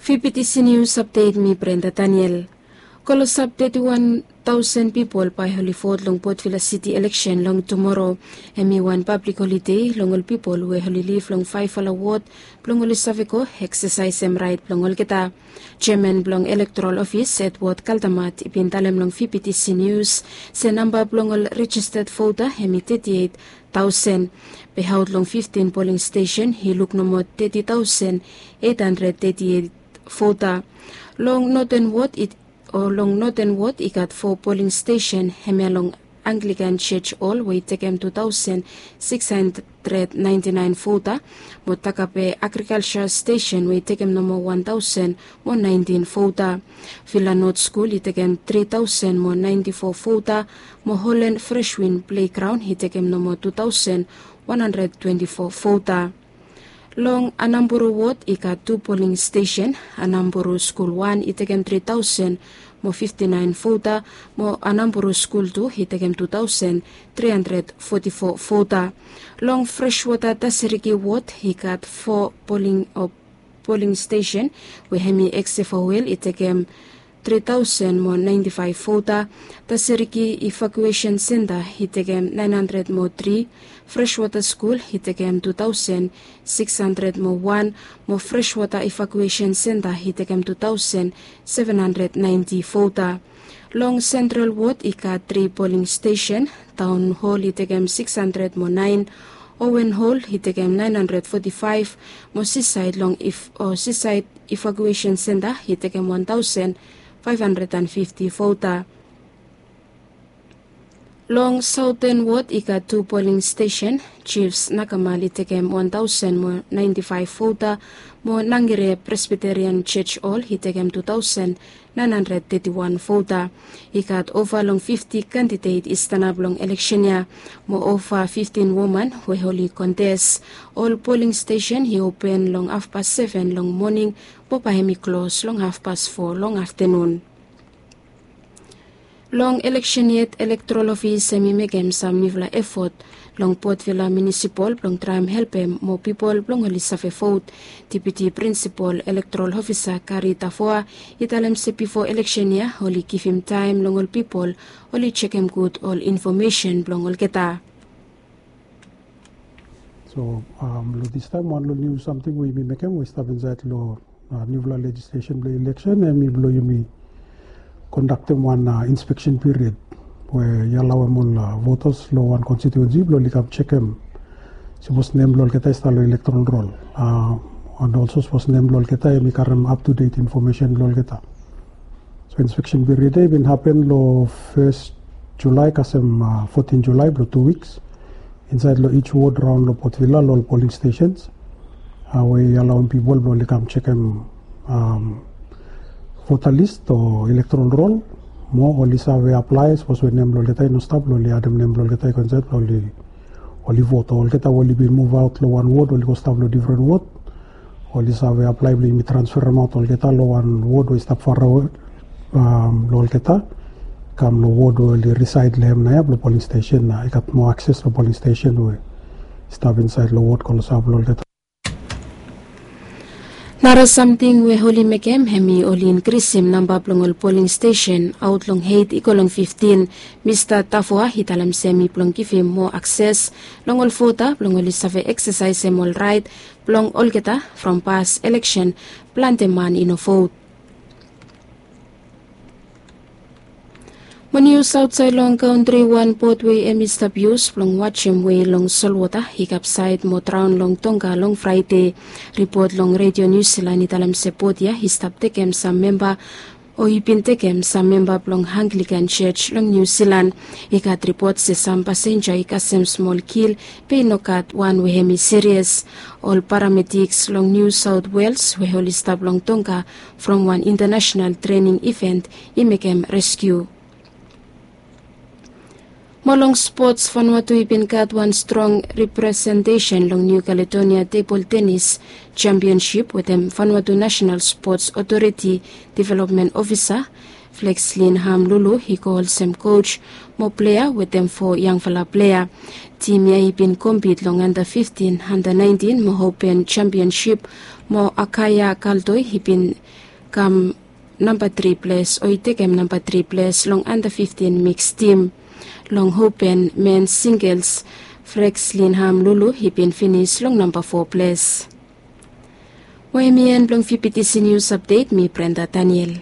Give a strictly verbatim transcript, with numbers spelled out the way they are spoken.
Fifty Seniors Update, mi Brenda Daniel. Klosap teti wan taosen pipol bae oli vot long Port Vila City eleksen long tumoro. Hemi wan pablik holide long ol pipol we oli liv long faefala wod blong oli save go eksesaesem raet blong olgeta. Jeaman blong Elektoral Ofis, Edward Kaldamat, i bin talem long Fifty Seniors se namba blong ol rejisted vota hemi teti eit taosen. Be aot long fiftin poling stesen i luk nomo teti taosen eit handred teti eit vota. Long Noten Wod i o long Noten Wod i gat fo poling stesen, hemia long Anglikan Sios Hol we i tekem tu taosen sikis handred naenti naen vota, mo Takape Agrikalsa Stesen we i tekem nomo wan taosen mo naentin vota. Vila Not Skul i tekem tri taosen mo naenti fo vota, mo Holen Freswin Plegraon i tekem nomo tu taosen wan handred twenti fo vota. Long Anamburu Wod i gat tu poling stesen. Anamburu Skul Wan i tekem tri taosen mo fifti naen vota, mo Anamburu Skul Tu i tekem tu taosen tri handred foti fo vota. Long Freswota Tasiriki Wod i gat fo poling o poling stesen, we hemi Eksefowel i tekem tri taosen mo naenti faef vota, Tasiriki Evakuesen Senta i tekem naen handred mo tri, Freswota Skul i tekem tu taosen sikis handred mo wan, mo Freswota Evakuesen Senta i tekem tu taosen seven handred naenti vota. Long Sentral Wod i gat tri poling stesen. Taon Hol i tekem sikis handred mo naen, Owen Hol i tekem naen handred foti faef, mo Sisaed long if o Sisaed Evakuesen Senta i tekem wan taosen faef handred an fifti vota. Long Saoten Wod i gat tu poling stesen. Jifs Nakamal i tekem wan taosen mo naenti faef vota, mo Nangere Presbiterian Sios Hol i tekem tu taosen naen handred teti wan vota. I gat ova long fifti kandidet i stanap long eleksen ya, mo ova fiftin woman we oli kontes. Ol poling stesen i open long hafpas seven long moning, mo bae hemi klos long hafpas fo long aftenun. Long eleksen yet, Elektoral Ofis hemi mekem sam niufala efot long Port Vila Munisipol blong traem helpem moa pipol blong oli save vot. Deputi Prinsipol Elektoral Ofisa Kari Tavoa i talem se bifo eleksen ya oli givim taem long ol pipol oli jekem gud ol infomesen blong olgeta. So, um, long distaem wan long niu samting we yumi mekem we i stap insaed long, uh, niufala lejislesen blong eleksen, hemi blong yumi kondaktem wan, uh, inspeksen piriod we i alaoem ol, uh, votas long wan konstitiuensi blong oli kam jekem sapos nem blong olgeta i stap long elektoral rol. Uh, and also sapos nem blong olgeta hemi karem up to date infomesen blong olgeta. So inspeksen piriod ya i bin hapen long fes Julae kasem, uh, fotin Julae blong tu wiks insaed long each wod raon long Port Vila long ol poling stesens, uh, we i alaoem pipol blong oli kam jekem, um, vota lis o elektoral rol, mo oli save aplae sapos we nem blong olgeta i no stap blong oli adem nem blong olgeta i go insaed blong oli, oli vot. O olgeta we oli bin muvaot long wan wod oli go stap long difren wod, oli save aplae blong yumi transferemaot olgeta long wan wod we i stap farawe, um, long olgeta, kam long wod we oli risaed long hem naoia blong poling stesen, na i gat moa akses long poling stesen we i stap insaed long wod klosap blong olgeta. Nara samting we oli mekem hemi oli inkrisim namba blong ol poling stesen aot long eit i go long fiftin. Mista Tavoa i talem se hemi blong givim moa akses long ol vota blong oli save eksesaesem ol raet blong olgeta from pas eleksen plante man i no vot. Mo nius aotsaed long kantri, wan bot we hemi stap yus blong wajem wei long solwota i kapsaed mo draon long Tonga long Fraede. Ripot long Redio Niu Silan i talem se bot ya i stap tekem sam memba o i bin tekem sam memba blong Anglikan Sios long Niu Silan. I gat ripot se sam pasenja i kasem smol kil, be i no gat wan we hemi sirias. Ol paramediks long Niu Saot Wels we oli stap long Tonga from wan intanasenal trening iven i mekem reskiu. Mo long spots, Vanuatu i bin gat wan strong representesen long Niu Kaledonia tebol tenis jampionsip wetem Vanuatu Nasenal Spots Otoriti Developmen Ofisa Flexlin Ham Lulu i go olsem coach mo plea wetem fo yangfala plea. Tim ya i bin kompit long under fifteen, under nineteen mo open championship, mo Akaya Kaldoi i bin kam namba tri ples o i tekem namba tri ples long under fifteen mix tim. Long open men singles, Flexlin Ham Lulu i bin finis long namba fo ples. Mo em i en blong fifty C News Update, mi Brenda Daniel.